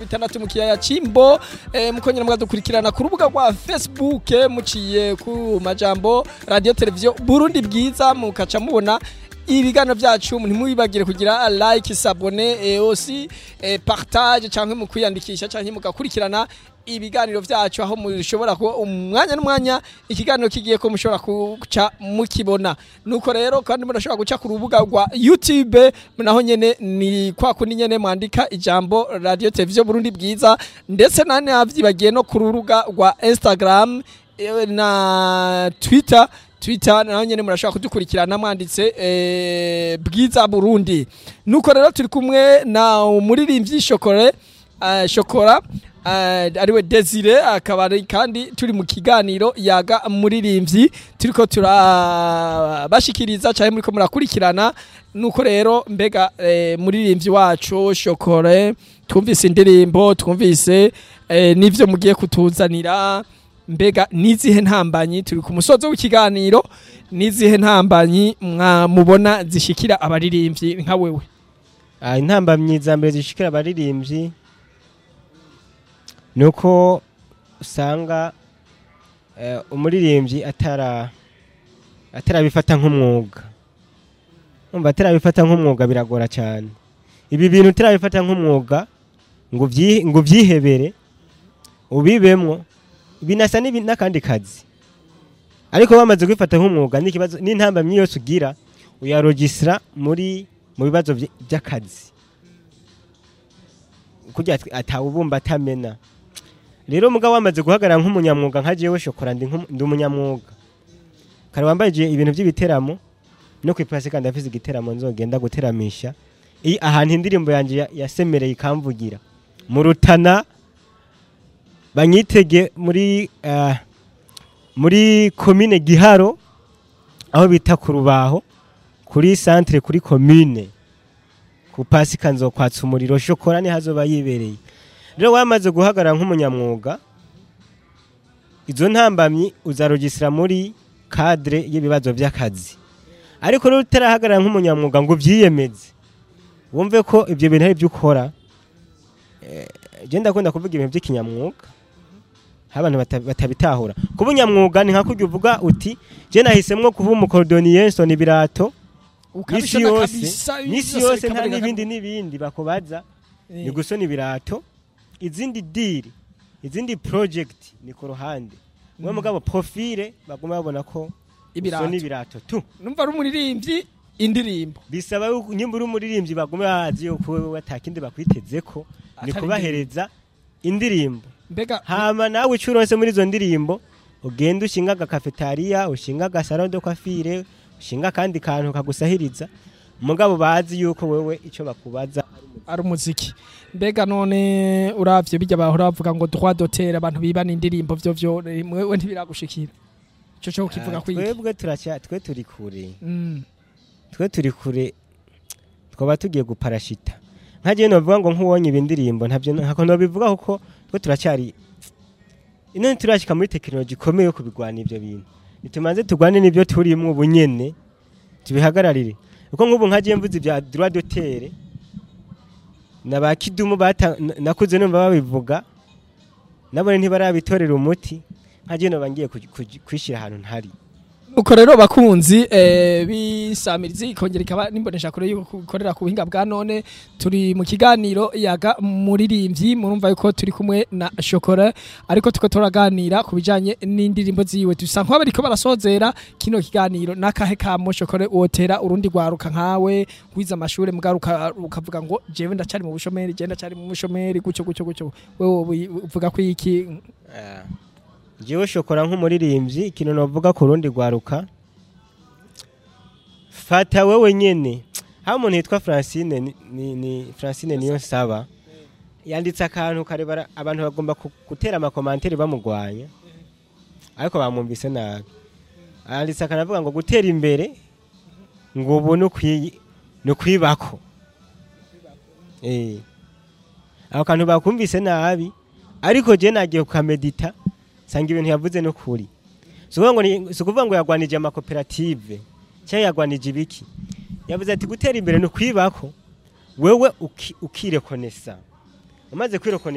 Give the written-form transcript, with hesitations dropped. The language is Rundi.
6 mu kiyaya Cimbo. Mukongera mukadukurikirana ku rubuga rwa Facebook, muciye ku majambo Radio Television Burundi Bwiza, mukaca mubona ibiganiro byacu. Ntimwibagire kugira like, s'abonner et aussi partage, canke mu kwiyandikisha, canke mugakurikirana ibiganiro byacu, aho mushobora kuba umwanya n'umwanya ikiganiro kigiye ko mushobora kuca mukibona. Nuko rero kandi murashobora guca ku rubuga rwa YouTube, naho nyene ni kwa kundi nyene, mwandika ijambo Radio Television Burundi Bwiza. Ndetse nane avyibagiye no ku rubuga rwa Instagram na Twitter, naho nyene murashobora kudukurikirana mwanditse Bwiza Burundi. Nuko rero turi kumwe na umuririmbyi Shokore, Shokora, ariwe Desire, akaba ari kandi turi mu kiganiro Yaga Muririmbyi, turiko turabashikiriza cyane, muriko murakurikirana. Nuko rero mbega muririmbyi wacu Shokore, twumvise indirimbo, twumvise n'ivyo mugiye kutuzanira. Mbega nizihe ntambanyi, turi ku musozo w'ikiganiro, nizihe ntambanyi mubona zishikira abaririmbyi nka wewe? Intambamyi za mbere zishikira abaririmbyi nuko usanga umuririmbyi atarabifata nk'umwuga. Umva, atarabifata nk'umwuga biragora cyane. Ibi bintu utarabifata nk'umwuga ngo uvyihebere ubibemwo, binasa n'akandi kazi. Ariko bamaze kubifata nk'umwuga, n'ikibazo n'intambamyi yose ugira uyarogisira mu bibazo by'akazi, kurya atawubumba atamena. Rero mugabo wamaze guhagarara nk'umunyamwuga, nka jewe Shokora, ndi umunyamwuga. Kare wambaye ibintu by'ibiteramo, no kwipasi kandi afise igiteramo nzogenda guteramisha ahantu indirimbo yanje yasemereye ikamvugira mu Rutana. Banyitege muri komine Giharo, aho bita ku Rubaho, kuri centre, kuri commune. Ku Pasika nzokwatsa umuriro, Shokora ni hazoba yibereye. Rero wamaze guhagarara nk'umunyamwuga, izo ntambamyi uzarogisira muri cadre y'ibibazo by'akazi. Ariko rero utarahagarara nk'umunyamwuga ngo uvyiyemeze, wumve ko ibyo bintu ari byo ukora, je ndakunda kuvuga ibintu by'ikinyamwuga, aho abantu batabitahura. Kuba unyamwuga ni nka kurya uvuga uti: "Je nahisemwo kuba umu cordonnier, nsona ibirato misi Ukabishona yose." Kabisa, Misi byose yose nta bikaboneka. n'ibindi n'ibindi bakubaza, ni gusona ibirato. Izindi deal, izindi project ni ku ruhande. We mugabo profile baguma babona ko Ibirato. usona ibirato tu. Numva ari umuririmbyi, indirimbo. Bisaba yuko nyimba uri umuririmbyi, bagume bazi yuko wewe atakindi bakwitezeko, ni Atari kubahereza indirimbo. Mbega Hama nawe ico uronse muri izo ndirimbo, ugenda ushinga agakafetariya, ushinga aga salon de coiffure, ushinga akandi kantu kagusahiriza, mugabo bazi yuko wewe ico bakubaza ari umuziki. Mbega none uravye bijya bahora bavuga ngo droit d'auteur, abantu bibana indirimbo, vyo mwewe ntibiragushikira? Ico cyo kivuga kwiki? Twebwe turacya, twe turi kure. Twe turi kure, twaba tugiye guparashita. Nka jewe novuga ngo nk'uwonye ibindirimbo, ntabyo ntako nobivuga, kuko twe turacyari ino, ntiturashika muri tekinoloji ikomeye yo kubigwana ivyo bintu. Nitumanze tugwane n'ibyo turimwo ubu nyene, tubihagararire, kuko nk'ubu nka jewe mvuze ibya droit d'auteur na ba Kidumu nakuze numva babivuga, nabone ntibarabitorera umuti. Nka jewe noba ngiye kwishira ahantu ntari. Nuko rero bakunzi bisamirizi ikongera ikaba nimbonesha kure yuko ikorera ku buhinga bwa none, turi mu kiganiro Yaga Muririmbyi. Murumva yuko turi kumwe na Shokora, ariko tuko turaganira ku bijanye n'indirimbo ziwe. Dusa nk'abariko barasozera kino kiganiro. Nakahe kamo Shokora wotera urundi rwaruka nkawe wize amashure, mugaruka ukavuga ngo jewe ndacari mu bushomeri, jewe ndacari mu bushomeri, gutyo gutyo gutyo, wewe uvuga ko iki? Jewe Shokora nk'umuririmbyi, ikintu novuga ku rundi rwaruka, fata wewe nyene. Aho umuntu yitwa Francine ni Francine niyo nsaba, yanditse akantu karebara, abantu bagomba gutera ama commentaires bamugwanya, ariko bamwumvise nabi. Yanditse akantu avuga ngo gutera imbere ngo ubu ni ukwibako. Ako kantu bakumvise nabi, ariko je nagiye kukamedita, sanga ibintu yavuze no kuri. Si ukuvuga ngo yagwanije amakoperative cyangwa yagwanije ibiki. Yavuze ati gutera imbere ni ukwibako, wewe ukirekonesa. Umaze kwirokoneta.